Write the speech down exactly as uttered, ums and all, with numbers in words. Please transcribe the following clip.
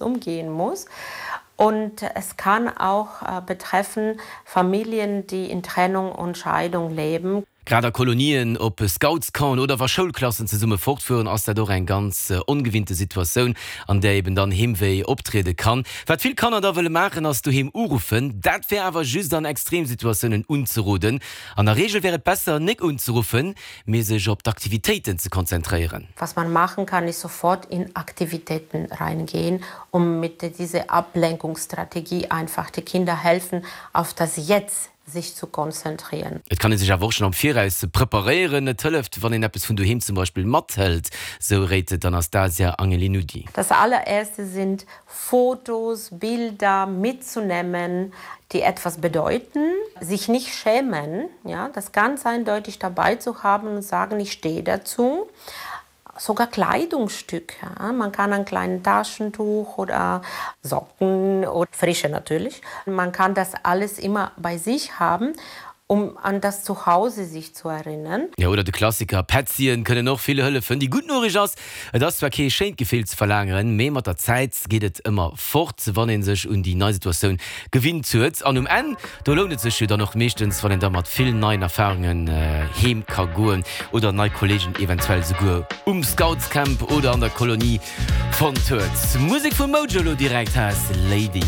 Umgehen muss. Und es kann auch äh, betreffen Familien, die in Trennung und Scheidung leben. Grad a Kolonien, op Scoutscampen oder wa Schoulklassen zesumme fortfueren, ass dat och eng ganz ongewinnte Situatioun, an där eben dann Heemwéi optriede kann. Wat vill Kanner da wëlle maachen, ass doheem uruffen. Dat wär awer just an Extremsituatiounen unzeroden. An der Reegel wär et besser, nik unzeruffen, mee sech op d'Aktivitéiten ze konzentréieren. Was man machen kann, ist sofort in Aktivitäten reingehen, um mit dieser Ablenkungsstrategie einfach die Kinder helfen, auf das Jetzt sich zu konzentrieren. Et kann ee sech awer och schonn am Viraus preparéieren. Et hëlleft, wann een eppes vun doheem zum Beispill mathëlt, sou réit d'Anastasia Angelinudi. Das allererste sind Fotos, Bilder mitzunehmen, die etwas bedeuten, sich nicht schämen, ja, das ganz eindeutig dabei zu haben und sagen, ich stehe dazu. Sogar Kleidungsstücke. Ja. Man kann ein kleines Taschentuch oder Socken oder frische natürlich. Man kann das alles immer bei sich haben, um an das Zuhause sich zu erinnern. Jo, oder de Klassiker, Petzien kënnen och vill hëllefen. Déi gutt Noriicht ass, et ass zwar kee schéint Gefill ze verlageren, mee mat der Zäit geet et ëmmer fort, wann ee sech un déi nei Situatioun gewinnt huet. An um Enn, do lount et sech jo dann och meeschtens, wann een da mat vill neien Erfarungen heem ka goen oder nei Kolleegen eventuell souguer um Scoutscamp oder an der Kolonie fonnt huet. Musek vu Modjo elo direkt, Lady.